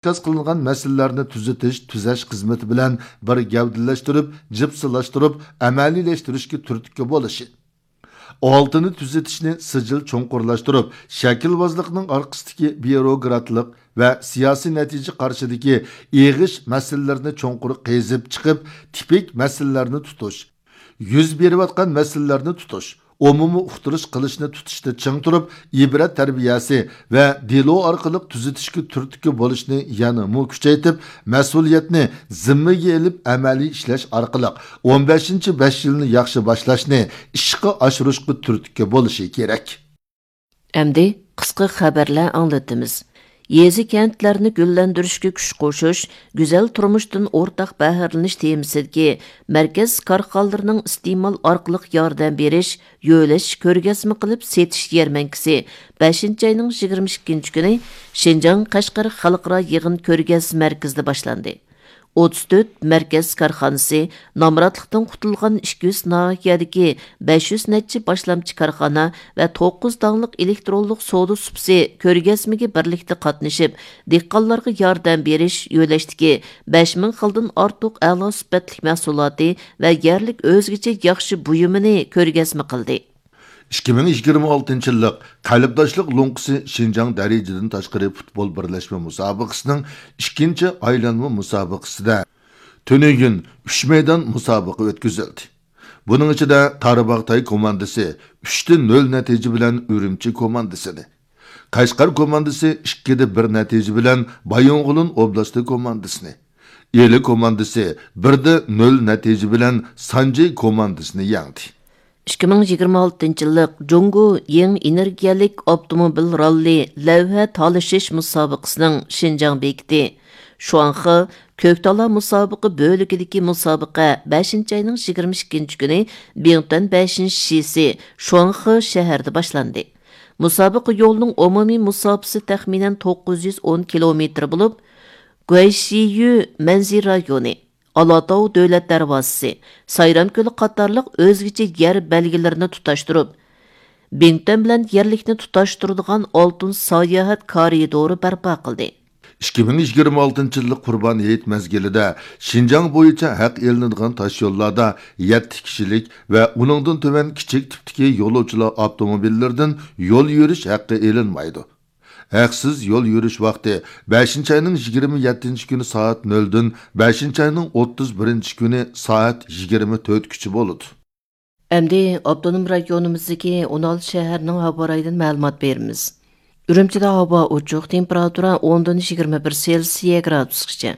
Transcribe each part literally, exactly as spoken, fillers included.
ئىنكاس قىلىنغان مەسىلىلەرنى تۈزىتىش، تۈزەش خىزمىتى بىلەن بىر گەۋدىلەشتۈرۈپ، جىپسىلاشتۇرۇپ، ئەمەلىيلەشتۈرۈشكە تۈرتكە بولۇشى. ئالتىنى تۈزىتىشنى سىجىل چوڭقۇرلاشتۇرۇپ، شەكىلۋازلىقنىڭ ئارقىسىدىكى بيۇروكراتلىق ۋە سىياسىي نەتىجە قارىشىدىكى ئېغىش مەسىلىلەرنى چوڭقۇر قېزىپ چىقىپ، تىپىك مەسىلىلەرنى تۇتۇش، يۈز بېرىۋاتقان مەسىلىلەرنى تۇتۇش، ئومۇمىي ئۇقتۇرۇش قىلىشنى تۇتۇشتا چىڭ تۇرۇپ، ئىبرەت تەربىيەسى ۋە دېلو ئارقىلىق تۈزىتىشكە تۈرتكە بولۇشنى يەنىمۇ كۈچەيتىپ، مەسئۇلىيەتنى زىممىگە ئېلىپ ئەمەلىي ئىشلەش ئارقىلىق ئون بەشىنچى بەش يىلنى ياخشى باشلاشنى ئىشقا ئاشۇرۇشقا تۈرتكە بولۇشى كېرەك. ئەمدى قىسقا خەۋەرلەر ئاڭلىتىمىز. يېزا، كەنتلەرنى گۈللەندۈرۈشكە كۈچ قوشۇش، گۈزەل تۇرمۇشتىن ئورتاق بەھرىلىنىش تېمىسىدىكى مەركەز كارخانىلىرىنىڭ ئىستېمال ئارقىلىق ياردەم بېرىش، يۆلەش، كۆرگەزمە قىلىپ سېتىش يەرمەنكىسى بەشىنچى ئاينىڭ يىگىرمە ئىككىنچى كۈنى شىنجاڭ قەشقەر خەلقئارا يىغىن كۆرگەزمە مەركىزىدە باشلاندى. ئوتتۇز تۆت مەركەز كارخانىسى، نامراتلىقتىن قۇتۇلغان ئىككى يۈز ناھىيەدىكى بەش يۈز نەچچە باشلامچى كارخانا ۋە توققۇز داڭلىق ئېلېكترونلۇق سودا سۇپىسى كۆرگەزمىگە بىرلىكتە قاتنىشىپ، دېھقانلارغا ياردەم بېرىش يۆلەشتىكى بەش مىڭ خىلدىن ئارتۇق ئەلا سۈپەتلىك مەھسۇلاتى ۋە يەرلىك ئۆزگىچە ياخشى بۇيۇمىنى كۆرگەزمە قىلدى. ئىككى مىڭ يىگىرمە ئالتىنچى يىللىق قەلبداشلىق لوڭقىسى شىنجاڭ دەرىجىدىن تاشقىرى پۇتبول بىرلەشمە مۇسابىقىسىنىڭ ئىككىنچى ئايلانما مۇسابىقىسىدە تۈنۈگۈن ئۈچ مەيدان مۇسابىقە ئۆتكۈزۈلدى. بۇنىڭ ئىچىدە تارباغ تاي كوماندىسى ئۈچتە نۆل نەتىجە بىلەن ئۈرۈمچى كوماندىسىنى، قەشقەر كوماندىسى ئىككىدە بىر نەتىجە بىلەن بايىنغولىن ئوبلاستى كوماندىسىنى، ئىلى كوماندىسى بىردە نۆل نەتىجە بىلەن سانجى كوماندىسىنى يەڭدى. ئىككى مىڭ يىگىرمە ئالتىنچى يىللىق جۇڭگو يېڭى ئېنېرگىيەلىك ئاپتوموبىل راللى لەۋھە تالىشىش مۇسابىقىسىنىڭ شىنجاڭ بېكىتى شۇاڭخې كۆكتالا مۇسابىقە بۆلىكىدىكى مۇسابىقە بەشىنچى ئاينىڭ يىگىرمە ئىككىنچى كۈنى بىڭتۈەن بەشىنچى شىسى شۇاڭخې شەھىرىدە باشلاندى. مۇسابىقە يولىنىڭ ئومۇمىي مۇساپىسى تەخمىنەن توققۇز يۈز ئون كىلومېتىر بولۇپ، گۇەيشىيۈ مەنزىرە رايونى، ئالاتاۋ دۆلەت دەرۋازىسى، سايرام كۆلى قاتارلىق ئۆزگىچە يەر بەلگىلىرىنى تۇتاشتۇرۇپ، بىڭتۈەن بىلەن يەرلىكنى تۇتاشتۇرىدىغان ئالتۇن ساياھەت كارىدورى بەرپا قىلدى. ئىككى مىڭ يىگىرمە ئالتىنچى يىللىق قۇربان ھېيت مەزگىلىدە شىنجاڭ بويىچە ھەق ئېلىنىدىغان تاشيوللاردا يەتتە كىشىلىك ۋە ئۇنىڭدىن تۆۋەن كىچىك تىپتىكى يولۇچىلار ئاپتوموبىللىرىدىن يول يۈرۈش ھەققى ئېلىنمايدۇ. ھەقسىز يول يۈرۈش ۋاقتى بەشىنچى ئاينىڭ يىگىرمە يەتتىنچى كۈنى سائەت نۆلدىن بەشىنچى ئاينىڭ ئوتتۇز بىرىنچى كۈنى سائەت يىگىرمە تۆتكىچە بولىدۇ. ئەمدى ئاپتونوم رايونىمىزدىكى ئون ئالتە شەھەرنىڭ ھاۋا رايىدىن مەلۇمات بېرىمىز. ئۈرۈمچىدە ھاۋا ئوچۇق، تېمپېراتۇرا ئوندىن يىگىرمە بىر سېلسىيە گرادۇسقىچە.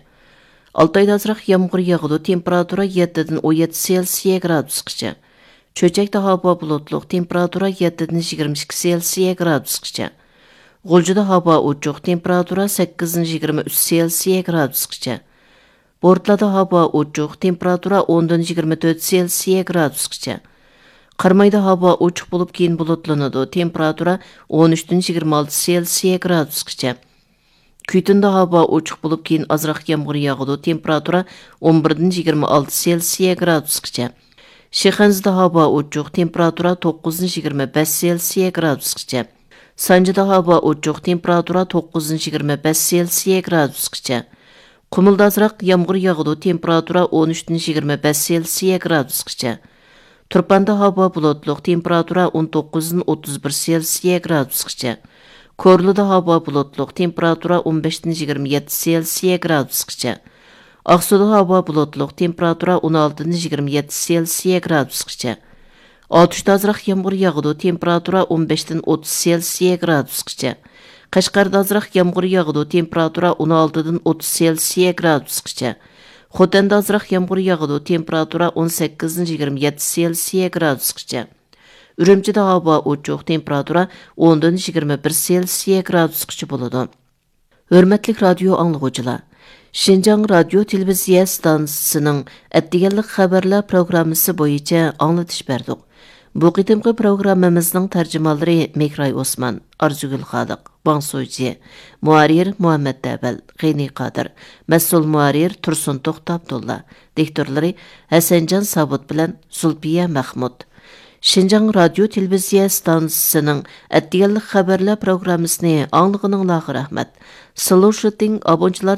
ئالتايدا ئازراق يامغۇر ياغىدۇ، تېمپېراتۇرا يەتتىدىن ئون يەتتە سېلسىيە گرادۇسقىچە. چۆچەكتە ھاۋا بۇلۇتلۇق، تېمپېراتۇرا يەتتىدىن يىگىرمە ئىككى سېلسىيە گرادۇسقىچە. غۇلجىدا ھاۋا ئوچۇق، تېمپېراتۇرا سەككىزدىن يىگىرمە ئۈچ سېلسىيە گرادۇسقىچە. بورتالادا ھاۋا ئوچۇق، تېمپېراتۇرا ئوندىن يىگىرمە تۆت سېلسىيە گرادۇسقىچە. قارامايدا ھاۋا ئوچۇق بولۇپ، كېيىن بۇلۇتلىنىدۇ، تېمپېراتۇرا ئون ئۈچتىن يىگىرمە ئالتە سېلسىيە گرادۇسقىچە. كۈيتۇندا ھاۋا ئوچۇق بولۇپ، كېيىن ئازراق يامغۇر ياغىدۇ، تېمپېراتۇرا ئون بىردىن يىگىرمە ئالتە سېلسىيە گرادۇسقىچە. شىخەنزىدە ھاۋا ئوچۇق، تېمپېراتۇرا توققۇزدىن يىگىرمە بەش سېلسىيە گرادۇسقىچە. سانجىدا ھاۋا ئوچۇق، تېمپېراتۇرا توققۇزدىن يىگىرمە بەش سېلسىيە گرادۇسقىچە. قۇمۇلدا ئازراق يامغۇر ياغىدۇ، تېمپېراتۇرا ئون ئۈچتىن يىگىرمە بەش سېلسىيە گرادۇسقىچە. تۇرپاندا ھاۋا بۇلۇتلۇق، تېمپېراتۇرا ئون توققۇزدىن ئوتتۇز بىر سېلسىيە گرادۇسقىچە. كورلىدا ھاۋا بۇلۇتلۇق، تېمپېراتۇرا ئون بەشتىن يىگىرمە يەتتە سېلسىيە گرادۇسقىچە. ئاقسۇدا ھاۋا بۇلۇتلۇق، تېمپېراتۇرا ئون ئالتىدىن يىگىرمە يەتتە سېلسىيە گرادۇسقىچە. ئاتۇشتا ئازراق يامغۇر ياغىدۇ، تېمپېراتۇرا ئون بەشتىن ئوتتۇز سېلسىيە گرادۇسقىچە. قەشقەردە ئازراق يامغۇر ياغىدۇ، تېمپېراتۇرا ئون ئالتىدىن ئوتتۇز سېلسىيە گرادۇسقىچە. خوتەندە ئازراق يامغۇر ياغىدۇ، تېمپېراتۇرا ئون سەككىزدىن يىگىرمە يەتتە سېلسىيە گرادۇسقىچە. ئۈرۈمچىدە ھاۋا ئوچۇق، تېمپېراتۇرا ئوندىن يىگىرمە بىر سېلسىيە گرادۇسقىچە بولىدۇ. ھۆرمەتلىك رادىيو ئاڭلىغۇچىلار، شىنجاڭ رادىيو تېلېۋىزىيە ئىستانسىسىنىڭ ئەتىگەنلىك خەۋەرلەر پروگراممىسى بويىچە ئاڭلىتىش بەردۇق. بۇ قېتىمقى پروگراممىمىزنىڭ تەرجىمانلىرى مېھراي ئوسمان، ئارزۇگۈل خالىق، ۋاڭ سۇجى، مۇھەررىر مۇھەممەت دەۋەل، غېنى قادىر، مەسئۇل مۇھەررىر تۇرسۇن توختى ئابدۇللا، دىكتورلىرى ھەسەنجان ساۋۇت بىلەن زۇلپىيە مەخمۇت. شىنجاڭ رادىيو تېلېۋىزىيە ئىستانسىسىنىڭ ئەتىگەنلىك خەۋەرلەر پروگراممىسىنى ئاڭلىغىنىڭلارغا رەھمەت. سىلۇشىتىڭ ئابۇنچىلار